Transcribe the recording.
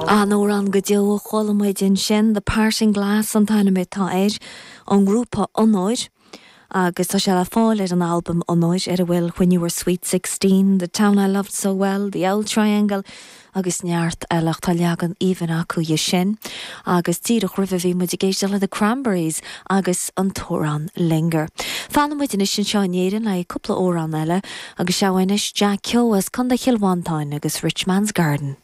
An-amhrán go deo a chuala muid ansin, The Parting Glass an t-ainm atá air, ón ngrúpa Onóir, agus tá sé le fáil ar an albam Onóir ar a bhfuil When You Were Sweet 16, The Town I Loved So Well, The Auld Triangle agus neart eile ach tá leagan aoibhinn acu dhe sin. Agus díreach roimhe bhí muid ag éisteacht le The Cranberries agus an t-amhrán Linger. Fanann muid anois anseo in Éirinn le haghaidh cúpla amhrán eile agus seo anois Jack Keogh as Contae Chill Mhantáin agus Rich Man's Garden.